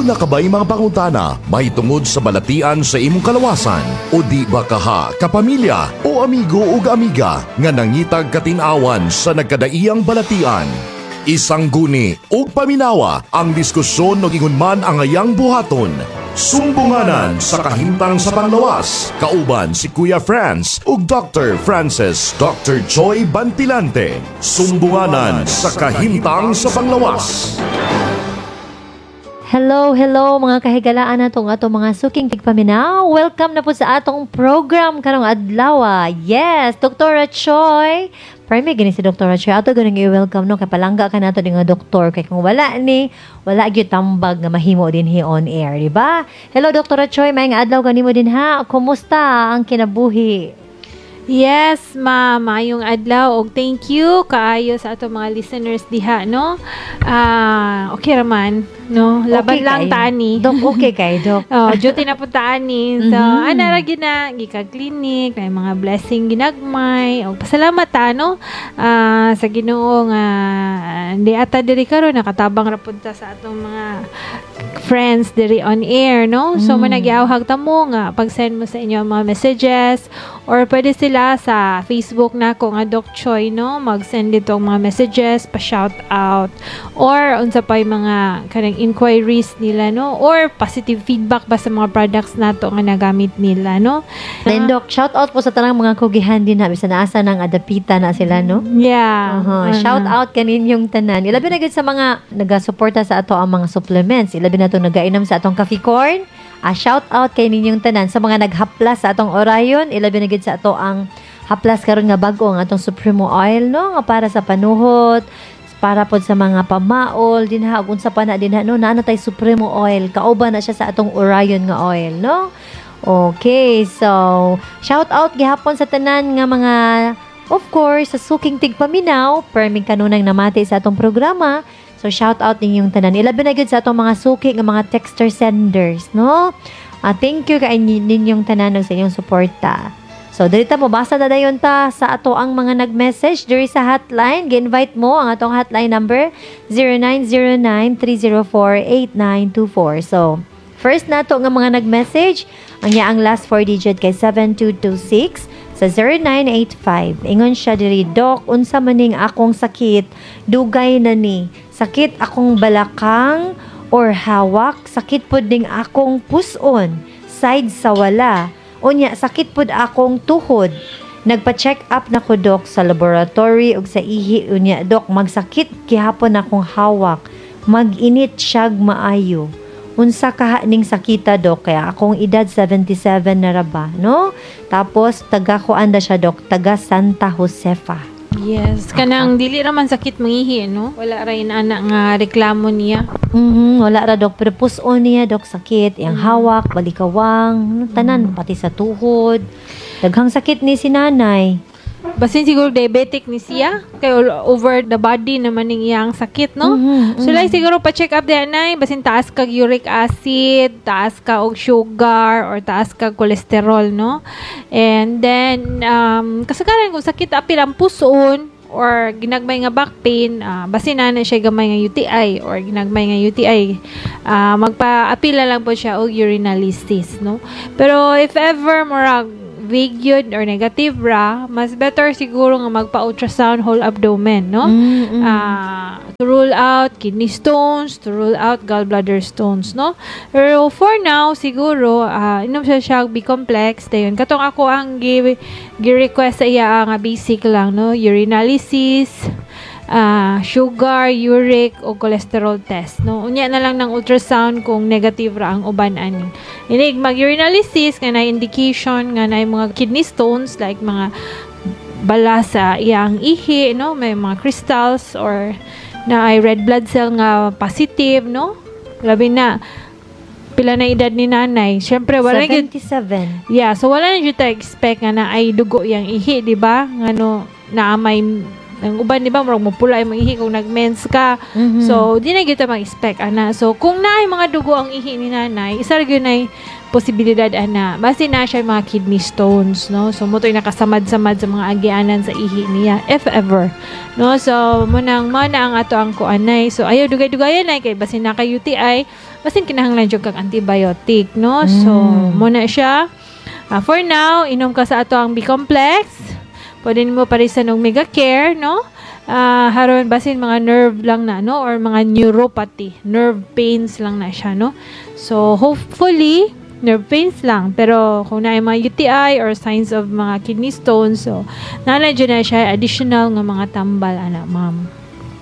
Duna ka ba'y mga pangutana mahitungod sa balatian sa imong kalawasan? O di ba kaha, kapamilya o amigo ug amiga nga nangitag katin-awan sa nagkadaiyang balatian? Isangguni ug paminawa ang diskusyon ug ingon man ang ayang buhaton. Sumbunganan sa kahimtang sa panglawas. Kauban si Kuya Franz ug Dr. Francis Dr. Joy Bantilante. Sumbunganan sa kahimtang sa panglawas. Hello, hello, mga kahigalaan natong atong mga suking tigpaminaw. Welcome na po sa atong program karong adlaw. Yes, Dr. Choi. Prime gini si Dr. Choi. Ato ganing i-welcome, no, kay palangga ka nato nga doktor, kay kung wala ni, wala gyud tambag nga mahimo dinhi on air, di ba? Hello, Dr. Choi, maayong adlaw kanimo din ha. Kumusta ang kinabuhi? Yes, ma'am. Maayong adlaw og thank you kaayo sa ato mga listeners diha, no? Ah, okay raman, no? Laban Okay lang kayo. Tani. Dok, okay kay Dok. Oh, duty na pud ani. So, ana ra gyud na gikag clinic, na mga blessing ginagmay. Og pasalamat ta, no? Sa Ginoo nga di ata diri karon nakatabang ra pud ta sa atong mga friends diri on air, no? So, mo nagyawhag ta mo nga pag-send mo sa inyo ang mga messages or pwede sila sa Facebook na ko nga Doc Choi, no? Mag-send dito ang mga messages, pa-shout out or unsa pa yung mga kanang inquiries nila, no? Or positive feedback ba sa mga products nato nga nagamit nila, no? Then Doc, shout out po sa tanang mga kugihan din ha, bisan asa nang adapita na sila, no? Yeah. Aha. Shout out kaninyong tanan. Ilabi na gud sa mga nagasuporta sa ato ang mga supplements. Ilabi na itong nagainom sa atong coffee corn. Shout out kay ninyong tanan sa mga naghaplas sa atong Orion. Ilabi na gud sa ato ang haplas karon nga bag-o ang atong Supremo Oil, no, nga para sa panuhot, para pod sa mga pamaol dinha ug unsa pa na dinha, no, naa na tay Supremo Oil, kauban na siya sa atong Orion nga oil, no? Okay, so shout out gihapon sa tanan nga mga, of course, sa suking tigpaminaw, perming kanunang namati sa atong programa. So shout out ninyong tanan. Ilabi na gyud sa atong mga suki nga mga texter senders, no? Thank you kay ninyong tanan ug sa inyong suporta. So diri ta mo basa na dayon ta sa ato ang mga nag-message diri sa hotline. Gi-invite mo ang atong hotline number 0909-304-8924. So first nato nga mga nag-message, ang iyaang last four digit kay 7226 sa 0985. Ingon siya diri, "Dok, unsa maning akong sakit? Dugay na ni. Sakit akong balakang or hawak, sakit pud ning akong puson, side sa wala. Unya, sakit pud akong tuhod. Nagpa-check up na ko, Dok, sa laboratory ug sa ihi. Unya, Dok, magsakit gihapon akong hawak. Mag-init siyag maayo. Unsa kaha ning sakita, Dok? Kaya akong edad 77 na ra ba, no?" Tapos taga kuan da siya, Dok, taga Santa Josefa. Yes, kanang dili ra man sakit mangihi, no? Wala ra ana nga reklamo niya. Wala ra, Dok, pero puson niya, Dok, sakit, iyang hawak, balikawang, tanan, pati sa tuhod. Daghang sakit ni si nanay. Basin siguro diabetic ni siya kay all over the body naman ning iyang sakit, no? Mhm. So like siguro pa check up diha nay, basin taas kag uric acid, taas ka og sugar or taas kag cholesterol, no? And then kasagaran kung sakit apil ang puson or ginagmay nga back pain, basin na na siya gamay nga UTI or ginagmay nga UTI, magpa-apil na lang po siya og urinalysis, no? Pero if ever murag vague yun or negative ra, mas better siguro nga magpa-ultrasound whole abdomen, no? To rule out kidney stones, to rule out gallbladder stones, no? Pero for now, siguro, inom siya siya B-complex, dayon. Katong ako ang gi-request sa iya nga basic lang, no? Urinalysis, sugar, uric, o cholesterol test, no? Unya na lang ng ultrasound kung negative ra ang uban ani. Inig mag-urinalysis nga na indication nga na mga kidney stones like mga bala sa iyang ihi, no? May mga crystals or na ay red blood cell nga positive, no? Labi na pila na edad ni nanay. Syempre wala na gyud 77. Yeah, so wala na jud ta expect nga na ay dugo yang ihi, di ba? Nga no na may ang uban, di ba, murag mupula imong ihi kung nagmens ka. So di na gyud ta mag-expect ana. So kung naay mga dugo ang ihi ni nanay, isa ra gyud nay Posibilidad ana basi na siya mga kidney stones, no? So mo to'y nakasamad-samad sa mga agianan sa ihi niya, if ever, no? So mo nang mo na ang ato ang kuanay. So ayaw dugay-dugayan ay kay basin na kay UTI, basin kinahanglan jud kag antibiotic, no? So mo na siya. Ah, for now, inom ka sa ato ang B-complex. Pwede nimo parisan og Mega Care, no? Ah, haron basin mga nerve lang na, no? Or mga neuropathy, nerve pains lang na siya, no? So hopefully nerve pains lang, pero kung naay mga UTI or signs of mga kidney stones, so naa na siya additional nga mga tambal ana, ma'am.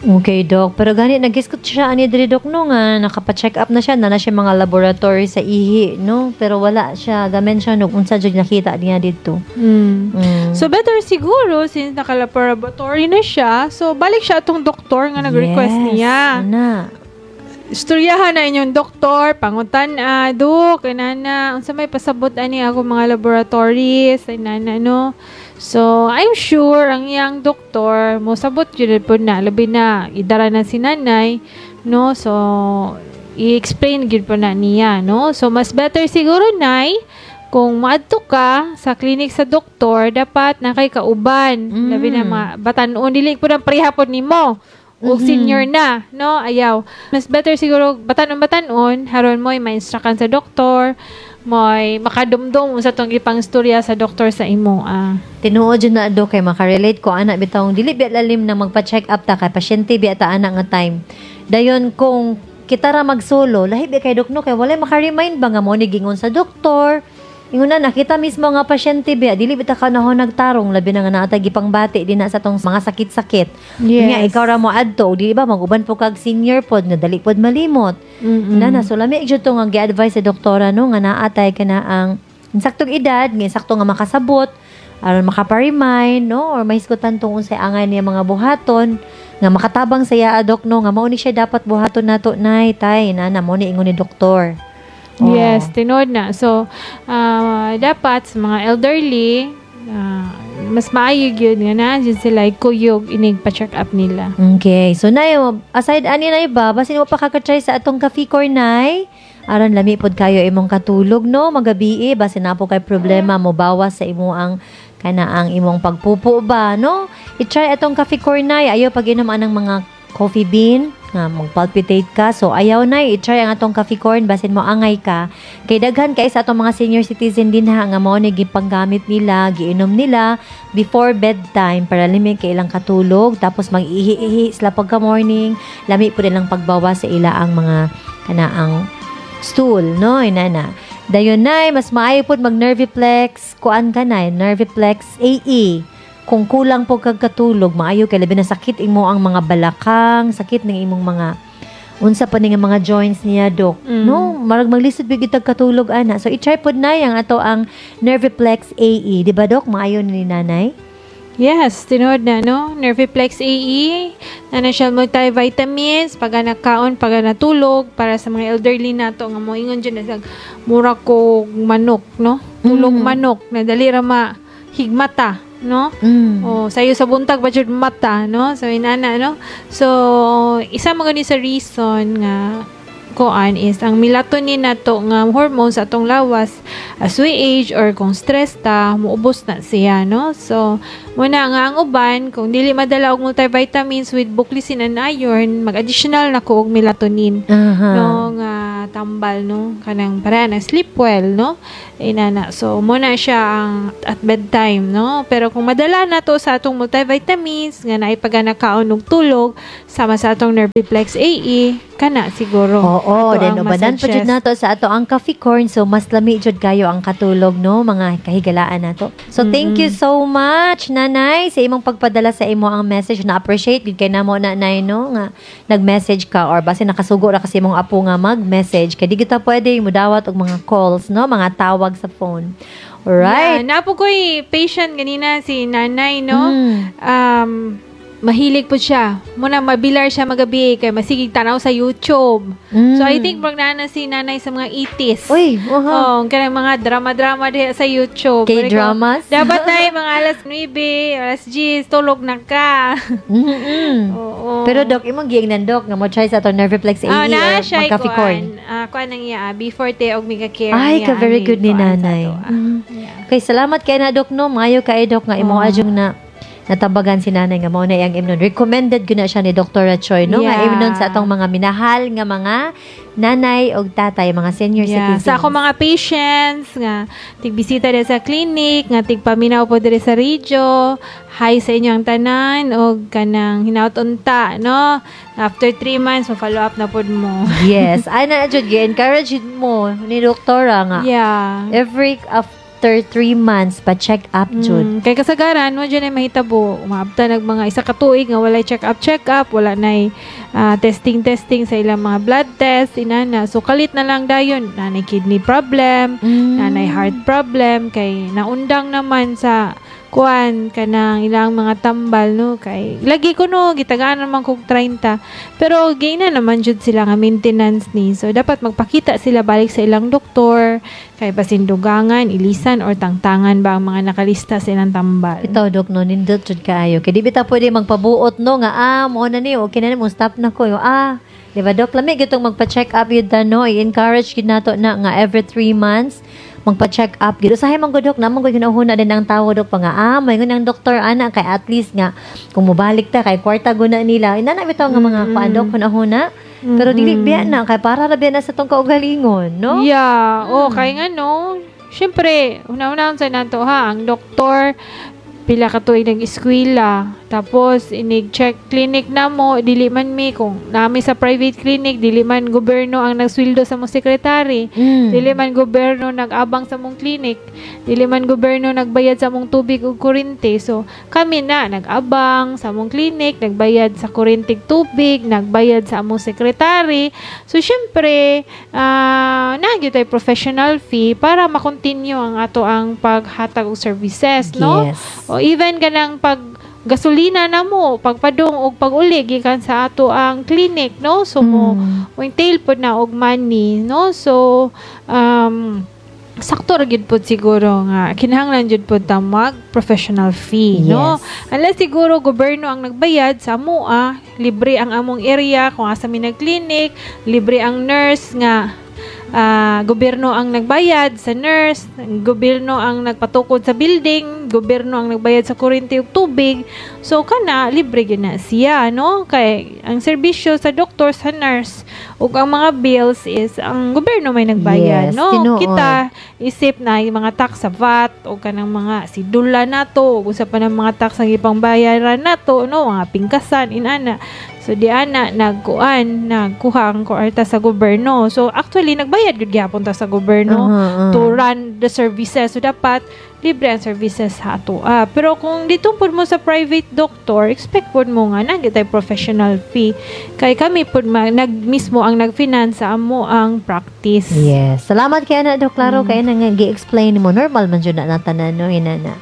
Okay, Doc. Pero gani, nag-isgot siya ani diri, Doc, no, nga nakapa-check up na siya, na siya mga laboratory sa ihi, no? Pero wala siya, gamen siya, no, unsa jud nakita niya dito. So better siguro, since naka-laboratory na siya, so balik siya atong doktor nga nag-request niya. Ana. Istoryahan na inyong doktor, pangutan a, "Dok, inana, unsa may pasabot ani ako mga laboratories?" Inana, no? So, I'm sure ang iyang doktor mo sabot jud po na, labi na idara na si nanay, no? So, i-explain gyud po na niya, no? So, mas better siguro, nay, kung maadto ka sa clinic sa doktor, dapat na kay kauban. Labi na mga batan-on, dili po nang pareha pod nimo ug senior na, no? Ayaw. Mas better siguro batan-on batan-on, haron mo'y ma-instructan sa doktor, mo'y makadumdum sa tong ipang istorya sa doktor sa imo. Ah. Tinuod jud na, Dok, kay makarelate ko ana bitawng dili biya lalim na magpa-check up ta kay pasyente biya ta ana nga time. Dayon kung kita ra magsolo, lahi biya kay, Dok, no, kay walay maka-remind ba nga mo ni gingon sa doktor. Ingon na nakita mismo nga pasyente biya, dili bita ka nahon nagtarong, labi na nga naa tay gipangbati din na sa tong mga sakit-sakit. Nga ikaw ra mo adto, di ba maguban po kag senior pod nga dali pod malimot. Na na so lami jud to nga gi-advise sa doktora, no, nga naatay ka na ang insaktong edad, nga insakto nga makasabot aron makapa-remind, no, or mahisgutan tong unsay angay niya mga buhaton nga makatabang sa iya, Dok, no, nga mao ni siya dapat buhaton nato, nay, tay, na mo ni ingon ni doktor. Oh. Yes, tinuod na. So, dapat sa mga elderly, mas maayo gyud nga na jud sila kuyog inig pa-check up nila. Okay. So, nay, aside ani na iba, basin mo pa kakatry sa atong Cafe Cornay. Aron lami pod kayo imong katulog, no, magabi, basin na po kay problema mo bawas sa imo ang kana ang imong pagpupo ba, no? I-try atong Cafe Cornay. Ayaw pag-inom anang mga coffee bean nga magpalpitate ka. So ayaw na, i-try ang atong Cafe Corn, basin mo angay ka. Kay daghan kay sa atong mga senior citizen din ha nga mao ni gipanggamit nila, giinom nila before bedtime para lami kay ilang katulog, tapos mag-ihi-ihi sila pagka morning, lami po nilang pagbawas sa ila ang mga kana ang stool, no, inana. Dayon nay, mas maayo pod mag Nerviplex, kuan ka na, Nerviplex AE. Kung kulang po kag katulog, maayo kay labi na sakit imo ang mga balakang, sakit ng imong mga unsa pa ni nga mga joints niya, Dok. No, marag maglisod big itag katulog ana. So i-try pod na yang ato ang Nerviplex AE, di ba, Dok? Maayo ni nanay? Yes, tinuod na, no? Nerviplex AE, na na siya multivitamins, pag nakaon, pag natulog, para sa mga elderly nato nga moingon dyan na mura ko manok, no? Tulog manok, na dali ra ma higmata, no? Oh, sayo sa buntag ba jud mata, no? So inana, no? So isa man gani sa reason nga koan is ang melatonin nato nga hormones sa atong lawas, as we age or kung stress ta, muubos na siya, no? So muna nga ang uban, kung dili madala og multivitamins with buclicin and iron, mag-additional na ko og melatonin, no, nga tambal, no, kanang para na sleep well, no, inana. So muna siya ang at bedtime, no? Pero kung madala na to sa atong multivitamins nga naipagana kaon og tulog sama sa atong Nerviplex AE, kana siguro Oo, ato then ang ubanan pa jud masuggest. Nato sa ato ang Coffee Corn, so mas lami jud kayo ang katulog, no, mga kahigalaan nato. So thank you so much, nanay, sa imong pagpadala sa imo ang message. Na appreciate gid kay namo, nanay, no, nga nag-message ka or base nakasugo ra kasi imong apo nga mag-message kay di kita pwede mudawat og mga calls, no, mga tawag sa phone. Alright. Yeah, napo ko'y patient ganina si nanay, no? Mahilig po siya. Muna mabilar siya magabi kay masigig tanaw sa YouTube. So I think murag naa na si nanay sa mga 80s. Uy, uha. Oh, kanang mga drama-drama diha sa YouTube. K-dramas? Dapat na mga alas 9, alas 10, tulog na ka. Oo. Pero Dok, imong giingnan, Dok, nga mo try sa atong Nerviplex AE Ah, na or siya mag-coffee corn. kuan. Kuan ang iya, B40 og Mega Care. Ay, niya, ka very ani, good ni kuan sa nanay. ato, ah. Yeah. Okay, salamat kay na, Dok, no. Maayo kay Dok nga imong adyong na natabagan si nanay nga mao na iyang imnon. Recommended gyud na siya ni Dr. Choi, no, nga imnon sa atong mga minahal nga mga nanay og tatay, mga senior citizens. Sa ako mga patients nga tigbisita diri sa clinic, nga tigpaminaw po diri sa radio. Hi sa inyo ang tanan og kanang hinaut unta, no? After 3 months mo follow up na pod mo. Yes, ay na jud gi-encourage jud mo ni doktora nga. Every after 3 months pa check up jud. Kay kasagaran mo dyan ay mahitabo umaabta nag mga isa ka tuig nga walay check up check up, wala nay testing testing sa ilang mga blood test inana. So kalit na lang dayon nanay kidney problem, nanay heart problem, kay naundang naman sa kuan kanang ilang mga tambal, no? Kay lagi ko, no, gitagaan naman kog 30, pero gina naman jud sila nga maintenance ni. So dapat magpakita sila balik sa ilang doktor kay basin dugangan, ilisan or tangtangan ba ang mga nakalista sa ilang tambal. Ito, Dok, no, nindot jud kaayo. Kay di bitaw pwede magpabuot, no, nga, mo na ni, okay na ni, mo stop na ko. Yung, di ba, Dok, lami gitong magpa-check up yun ta, no, i-encourage gid nato na nga every 3 months, magpa-check up gid. Usahay man gud, Dok, naman gud hinahuna din ang tawo, Dok, pa nga, may ang doktor ana kay at least nga kung mobalik ta kay kwarta guna nila. Inana bitaw nga mga kuan, Dok, hunahuna. Pero dili biya na kay para ra biya na sa tong kaugalingon, no? Yeah. Oh, kay nga no. Syempre, una-una sa nato ha, ang doktor pila ka tuig nag-eskwela. Tapos inig check clinic na mo, dili man mi kung nami sa private clinic, dili man gobyerno ang nagsweldo sa mong sekretary. Dili man gobyerno nag-abang sa mong clinic. Dili man gobyerno nagbayad sa mong tubig ug kuryente. So, kami na nag-abang sa mong clinic, nagbayad sa kuryente ug tubig, nagbayad sa among sekretary. So, syempre, naa gyud tay professional fee para ma-continue ang ato ang paghatag og services, no? Yes. O even kanang pag gasolina na mo, pagpadung og pag-uli gikan sa ato ang clinic, no? So mo entail pod na og money, no? So sakto ra gyud pod siguro nga kinahanglan jud pod ta mag professional fee, no? Unless siguro gobyerno ang nagbayad sa amoa, libre ang among area kung asa mi nag-clinic, libre ang nurse nga gobyerno ang nagbayad sa nurse, gobyerno ang nagpatukod sa building, gobyerno ang nagbayad sa kuryente ug tubig. So kana libre gyud na siya, no? Kay ang serbisyo sa doktor, sa nurse ug ang mga bills is ang gobyerno may nagbayad, no? Tinuod. Kita isip na yung mga tax sa VAT o kanang mga sidula nato ug usa pa ng mga tax ang ipangbayaran nato, no, mga pingkasan inana. So di ana nagkuan, nagkuha ang kwarta sa gobyerno. So actually nagbayad gud gihapon ta sa gobyerno to run the services. So dapat libre ang services sa ato. Pero kung dito pud mo sa private doctor, expect pud mo nga na tay professional fee. Kay kami pud nag mismo ang nag-finance sa amo ang practice. Yes. Salamat kay ana, Dok. Klaro kay na nga gi-explain mo. Normal man jud na natanan, no, inana.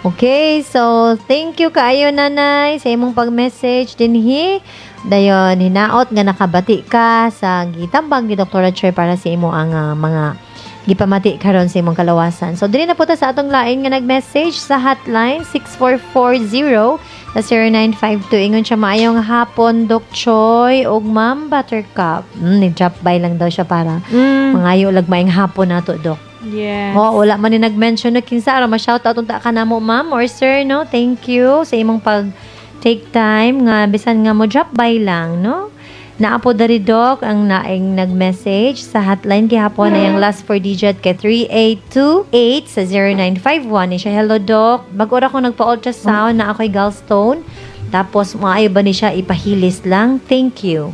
Okay, so thank you kaayo, nanay, sa imong pag-message dinhi. Dayon hinaot nga nakabati ka sa gitambag ni Dr. Choi para sa imo ang mga gipamati karon sa imong kalawasan. So diri na po ta sa atong lain nga nag-message sa hotline 6440 sa 0952. Ingon siya, "Maayong hapon, Doc Choi ug Ma'am Buttercup." Ni-drop by lang daw siya para mangayo lag maayong hapon nato, Doc. Oh, wala man ni nag-mention na kinsa ara ma-shoutout unta ka namo, ma'am or sir, no? Thank you sa imong pag take time nga bisan nga mo drop by lang, no? Naa po diri, Doc, ang naing nag-message sa hotline gihapon ay ang last four digit kay 3828 sa 0951 ni siya. "Hello, Doc. Bag-o ra ko nagpa-ultrasound na ako'y gallstone. Tapos maayo ba ni siya ipahilis lang? Thank you."